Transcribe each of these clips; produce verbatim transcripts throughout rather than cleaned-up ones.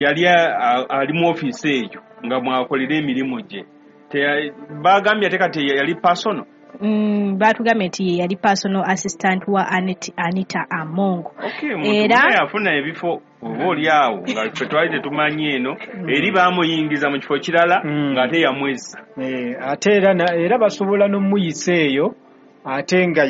Yali ali mu ofiisi eyo nga mwakolera emirimu gye. Bagambye ate kati yali personal. Mm, batugambye nti ye yali personal assistant wa Anita Among. Okay, era yafuna ebifo oba oli awo nga ffe twali tetumanyi eno, eri bamuyingiza mu kifo kirala ng'ate yamwezza. Ate era era basobola n'omuyisa eyo ate nga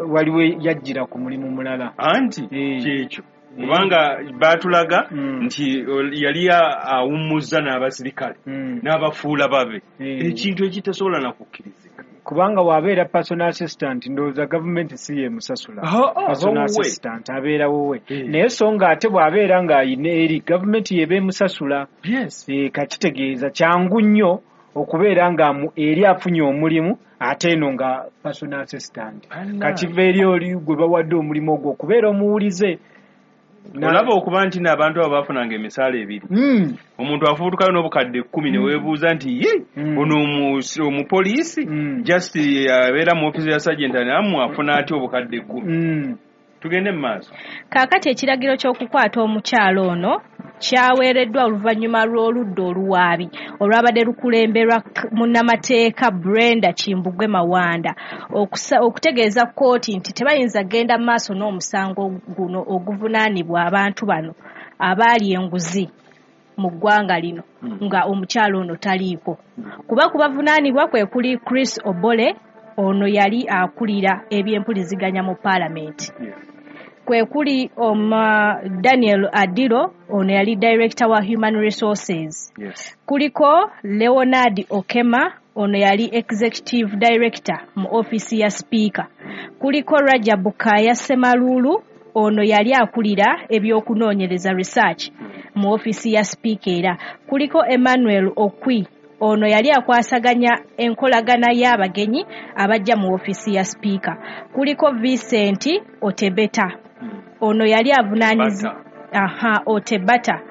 waliwo yajjira ku mulimu mulala. Anti kyekyo kubanga batulaga nti yali awummuzza n'abasirikale n'abafuula babe, ekintu ekitasobola na kukkirizika. Kubanga wabeera personal assistant ndowooza gavumenti si yemusasula. Personal assistant abeera wuwe, naye so nga ate bw'abeera ng'ayina eri gavumenti yeba emusasula. Kakitegeeza kyangu nnyo okubeera nga eri afunye omulimu ate eno nga personal assistant. Kakiva eri oli gwe bawadde omulimu ogwo okubeera omuwulize. Olaba okuba nti n'abantu abo bafunanga emisaala ebiri, omuntu afuutukayo n'obukadde kkumi ne weebuuza nti ye ono omupoliisi just abeera mu ofiisi ya sergeant nammwe afuna atya obukadde kkumi? Tugende mu maaso. Kaakati ekiragiro ky'okukwata omukyalo ono kyaweereddwa oluvannyuma lw'oludda oluwaabi olwabadde lukulemberwa munnamateeka Brenda Kimbugwe Mawanda okutegeeza kkooti nti tebayinza genda mu maaso n'omusango guno oguvunaanibwa abantu bano abaali enguzi mu ggwanga lino nga omukyalo ono taliiko. Kuba kubavunaanibwa kwe kuli Chris Obole, ono yali akulira ebyempuliziganya mu paalamenti. Kwe kuli oma Daniel Adilo, ono yali director wa human resources. Yes. Kuliko Leonard Okema, ono yali executive director mu office ya speaker. Kuliko Rajab Kaya Semalulu, ono yali akulira ebyokunoonyereza research mu office ya speaker. Era kuliko Emmanuel Okwi, ono yali akwasaganya enkolagana y'abagenyi abajja mu office ya speaker. Kuliko Vincent Otebeta, ono yali avunaanyizibwa aha Otebata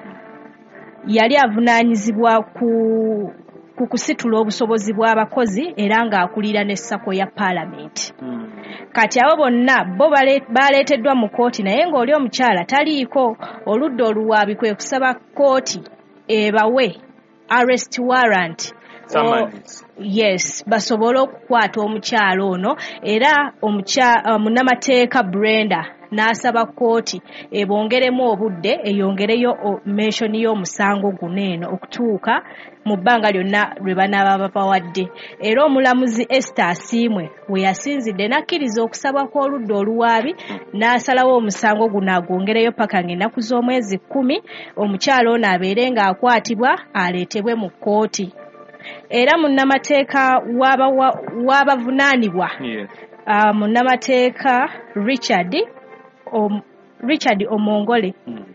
yali avunaanyizibwa ku ku kusitula obusobozi bw'abakozi era ng'akulira ne SACCO ya paalamenti. Mm. Kati abo bonna bo baleeteddwa mu kkooti naye ng'oli omukyala taliiko. Oludda oluwaabi kwe kusaba kkooti ebawe arrest warrant. O, yes, basobole okukwata omukyala ono. Era omukyala munnamateeka Brenda n'asaba kkooti ebongeremu obudde eyongereyo mention y'omusango guno eno okutuuka mu bbanga lyonna lwe banaaba babawadde. Era omulamuzi Esther Asiimwe we yasinzidde n'akkiriza okusaba kw'oludda oluwaabi n'asalawo omusango guno agwongereyo paka ng'ennaku z'omwezi kkumi omukyala ono abeere ng'akwatibwa aleetebwe mu kkooti. Era munnamateeka w'abavunaanibwa yes. uh, munnamateeka Richard Om, Richard Omongole mm.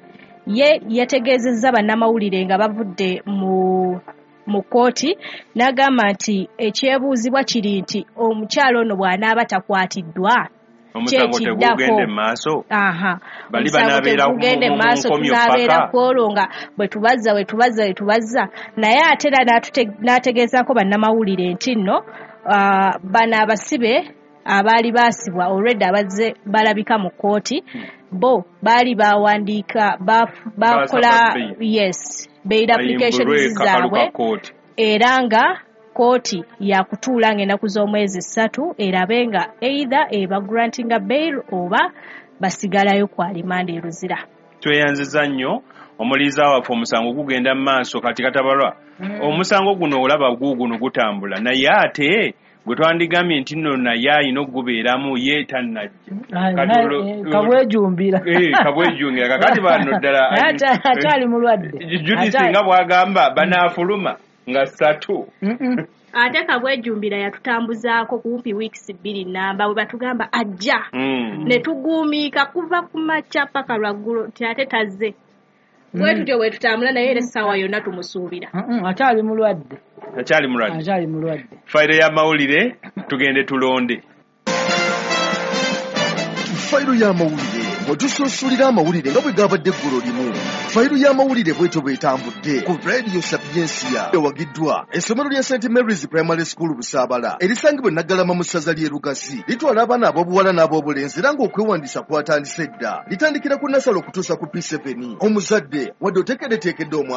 ye yategeezezza bannamawulire nga bavudde mu mu kkooti n'agamba nti ekyebuuzibwa kiri nti omukyala ono bw'anaaba takwatiddwa omusango tegugende maaso. Aha, bali banaabeera gugende maaso, tunaabeera kwolwo nga bwe tubazza bwe tubazza bwe tubazza. Naye ate era n'ategeezaako bannamawulire nti nno uh, bano abasibe abaali baasibwa already abazze balabika mu kkooti bo baali bawandiika bakola yes bail applications zaabwe era nga kkooti yakutuula ng'ennaku z'omwezi ssatu erabe nga either eba grantinga bail oba basigalayo kwa limanda e Luzira. Tweyanziza nnyo omuliza waffe. Omusango gugenda mu maaso kati katabalwa. Mm. Omusango guno olaba guuguno gutambula naye ate gwe twandigambye nti nno naye ayina okugubeeramu ye tannajja. Kabwejumbira. Eh, kabwejumbira. Kakati bano ddala akyali mulwadde. Judith nga bw'agamba banaafuluma nga ssatu. Ate kabwejumbira yatutambuzaako kumpi weeks bbiri namba bwe batugamba ajja. Mm. Ne tugumiika kuva ku makya paka lwaggulo nti ate tazze. Bwe tutyo bwe tutambula naye era essaawa yonna tumusuubira. Akyali mulwadde. Akyali mulwadde. Akyali mulwadde. Fayiro y'amawulire tugende tulonde. Fayiro y'amawulire Mwe tusuusulira amawulire nga bwe gabadde eggulo limu. Fayiru y'amawulire bwetyo bw'etambudde ku Radio Sapiensia. Ewagiddwa essomero lya Saint Mary's Primary School Busaabala erisangibwa e Naggalama mu ssaza ly'e Lugazi. Litwala abaana ab'obuwala n'ab'obulenzi era ng'okwewandiisa kwatandise dda. Litandikira ku nasale okutuusa ku P seven. Omuzadde wadde oteekeddeteekedde omwana